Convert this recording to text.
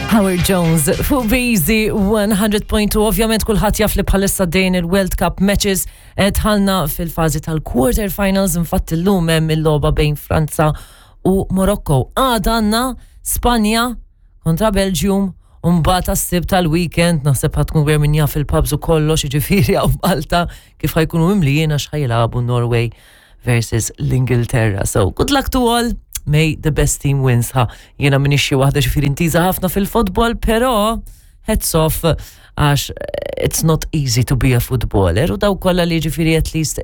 Howard Jones fuq Beezy 100.2. Ovvjament kulħadd jaf li bħalissa dejn il-World Cup matches eh, dħalna fil-fażi tal-quarter finals infatti llum hemm il-logħba bejn Franza u Morocco. Għada għandna Spanja kontra Belgium u mbagħad għas-Sibt tal-weekend naħseb ħa tkun gwer min jaf il-pubs u kollox jiġifieri hawn Malta kif ħa jkunu mimlijin għax ħa jilagħbu Norway versus l-Ingilterra. So good luck to all. May the best team wins. Ha, jiena minix xi waħda ġifieri intiża ħafna fil-futbol, però hats off għax it's not easy to be a footballer u daw kollha li ġifieri at least